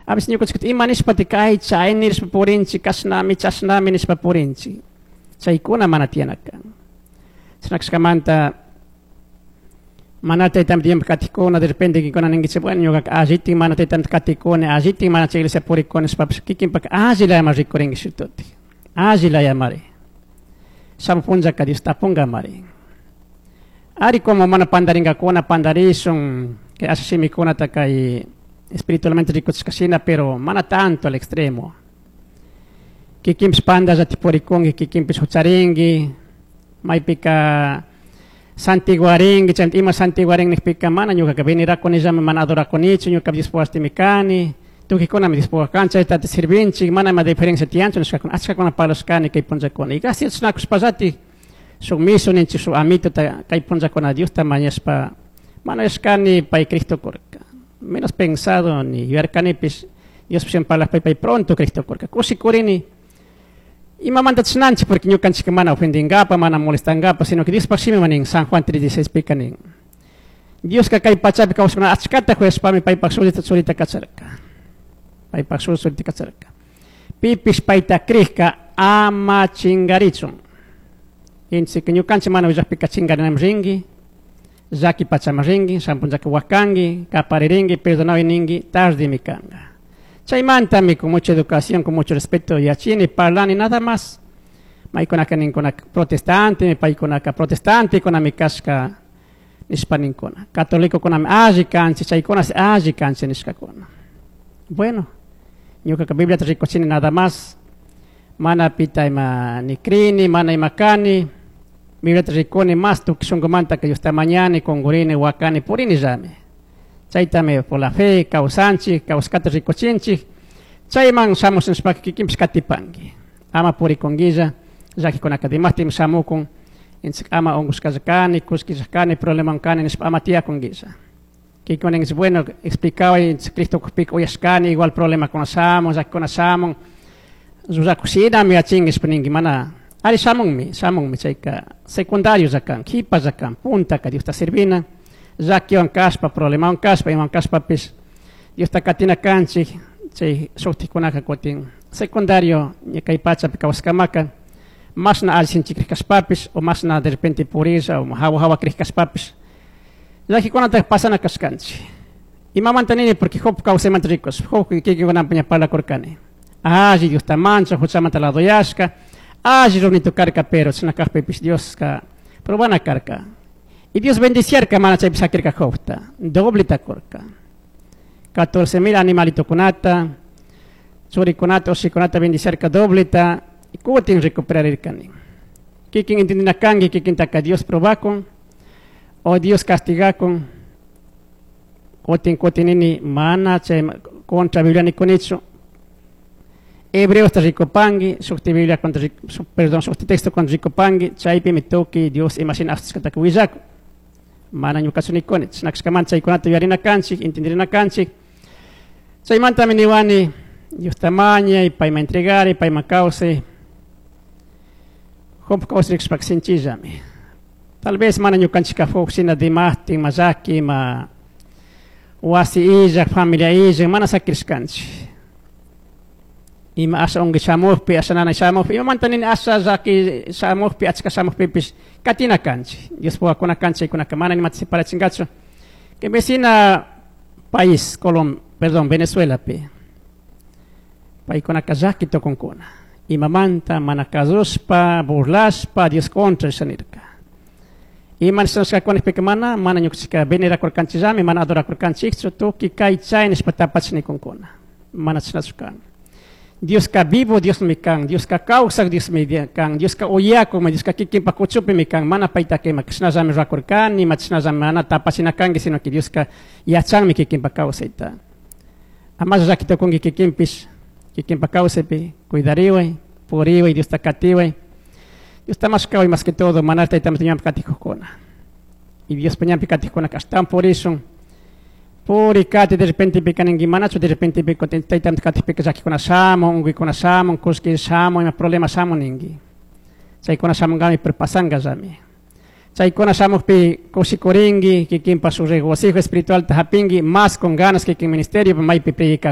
A veces ñukanchik ima nishpati kay chay nishpa purinchik, kashnami, chashnami nishpa purinchik. Chaykuna mana tiyana kan. Chashna mana taytami tiempo katikuna, de repente kikuna ninkichik, bueno, ñuka allitin mana taytamta katikuni, allitin mana chay iglesia purikuni nishpapish kikinpak alli layama rikurinki shututi. Alli layamari. Shamuj punllaka Dios tapungamari. Ari como mana pandaringakuna, pandarishun, kay asha shimikunata kay espiritualmente rikuchishkashina, pero mana tanto al extremo. Kikinpish pandallati purikunki, kikinpish hucharinki, maypika santiguarinki, chayta ima santiguarin nijpika mana ñukaka venerakunillami, mana adorakunichu, ñuka Diospuk wasimi kani, tukuykunami Diospuk kan, chayta sirvinchik, mana ima diferencia tiyanchu nishkakuna, achkakuna parlashkani kay punllakuna. Y gracias chashnakushpallati shuk misu ninchik, shuk amitota kay punllakuna Diosta mañashpa, mana yashkani pay Cristo kurka. Menos pensado ni yuyarkanipish, Dios parlajpay pay pronto Cristo kurka. Kushikurini, imamanta chashnanchik porque ñukanchik mana ofendingapa, mana molestangapa, sino que Diospaj shimi nin San Juan 3:16 pika nin. Dioska kay pachapi kawsakuna achkata kuyashpami paypaj churita churita kacharka. Paypaj shuk churita kacharka. Pipish payta crijka ama chingarichun. Inchik ñukanchik mana willajpika chingarinami rinki, llaki pachama rinki, shampunllaka wakanki, kaparirinki, perdonaway ninki, tardemi kanka. Chaymantami con mucha educación, con mucho respeto yachini, parlani, nada más. Maykunaka ninkunaka protestante, paykunaka protestante kunami kashka nishpa ninkuna. Católico kunami alli kanchik, chaykuna alli kanchik nishkakuna. Bueno, ñukaka Bibliata rikuchini nada más. Mana pita ima ni crini, mana ima kani. Bibliata rikuni más tukuy shunkumanta que Diosta mañani, kunkurini, wakani, purini llami. Chaytami por la fe kawsanchik, kawsashkata rikuchinchik. Chayman shamush nishpaka kikinpish katipanki. Ama purikunkilla, llakikunaka dimashtin shamukun. Inchik ama unkushkalla kani, kullkilla kani, problema kani nishpa ama tiyakunkilla. Kikunin bueno, explicaba inchik Cristo kujpika uyashkani, igual problema kuna shamun, llakikuna shamun. Rurakushinami yachinki ninki mana ari shamunmi, shamunmi chayka secundario llakan, kipa llakan, puntaka Diosta servina. Llakiwan kashpa, problemawan kashpa, imawan kashpapish Diosta katina kanchik, chay shuktikunaka kutin secundario kay pachapi kawsaskamaka mashna alli sinchi kashpapish o mashna de repente purilla o hawa hawa krij kashpapish llakikunata pasana kashkanchik. Imamanta nini porque Job kawsaymanta rikush, Job kikinkunapi ña parlakurkani. Alli Diosta mancha, huchamanta ladoyashka, alli runito karka, pero chashna kajpipish Dioska probana karka. Y Dios bendiciarka mana chaypi sakirka Jobta, dobleta kurka. 14,000 animalitokunata, churikunata, ushikunata bendiciarka dobleta, y kutin recuperarirkani. Kikin entendina kanki, kikintaka Dios probakun, o Dios castigakun, kutin kutinini mana chay contra Biblia nikunichu. Hebreos ta rikupanki, shukti Biblia contra, perdón, shukti texto contra rikupanki, chaypimi tukuy Dios imashina ashkataka willakun. Mana ñukachu nikuni, chashna chaykunata yuyarina kanchik, entendirina kanchik. Chaymantami niwani, Diosta mañay, payman entregari, payman kawsay. Job kawsarishpaka sinchillami. Tal vez mana ñukanchika Job shina dimashtin, ma llaki, ma wasi illak, familia illak, mana sakirishkanchik. Ima asha unki shamujpi, asha nanay shamujpi, imamanta nini asha llaki shamujpi, achka shamujpipish katina kanchik. Diospuk kanchik, chaykunaka mana nimata separachinkachu. Que vecina país, Colom, perdón, Venezuela pi. Paykunaka llaki tukunkuna. Imamanta mana kasushpa, burlashpa, Dios contra shanirka. Ima nishkakuna mana, mana ñukanchika venerakurkanchillami, mana adorakurkanchikchu, tukuy kay chay nishpa tapachinikunkuna. Mana chashnachu kan. Dioska vivo Diosmi kan, Dioska kawsak Diosmi kan, Dioska uyakukmi, Dioska kikinpak kuchupimi kan, mana paytaka ima chashnallami rurakurkani, ima chashnallami mana tapachina kanki, sino que Dioska yachanmi kikinpak kawsayta. Amalla llaki tukunki kikinpish, kikinpak kawsaypi, cuidariway, puriway, Diosta katiway, Diosta mashkaway más que todo, mana taytamanta ñanpi katikukuna. Y Diospa ñanpi katikukuna ashtawan purishun. Puri kati de repente pika ninki manachu, de repente pika taytamanta katikpika llakikuna shamun, unkuykuna shamun, kullki shamun, ima problema shamun ninki. Chaykuna shamunkami, pero pasankallami. Chaykuna shamukpi kushikurinki, kikinpa su regocijo espiritualta hapinki, más con ganas kikin ministerio, maypi predika.